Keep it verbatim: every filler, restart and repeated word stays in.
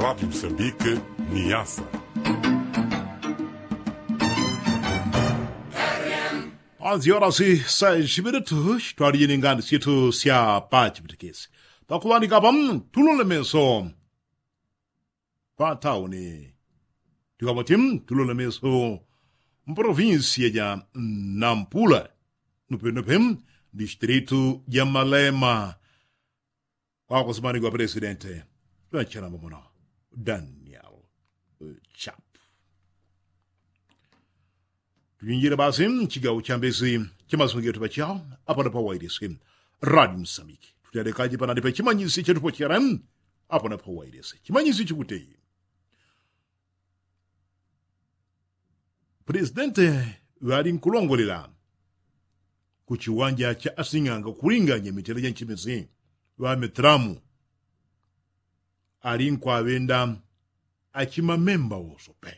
Radi msambike ni yasa. Anzi orasi saisi minutu twalije ni ngani syetu sya pachipitikisi pakuŵandika apa tulule meso patauni. Tikwapoti tulule meso mpolovinsiya ja nampula nupenupe distritu ja malema. Wakusimanigwa pelesidente lwachanamba muno daniel chap. Tujinjile basi mchigawo chambisi chamasungi yetu pachao apano pawailisi radi msamiki tutelekaji panalipe chimanyisi chetupochele apano pawailisi chimanyisi chikuti pulesidente ŵalinkulongolela kuchiwanja cha asing'anga kulinganya mitele ja nchimisi ŵametramu alinkwawenda achimamemba wosope.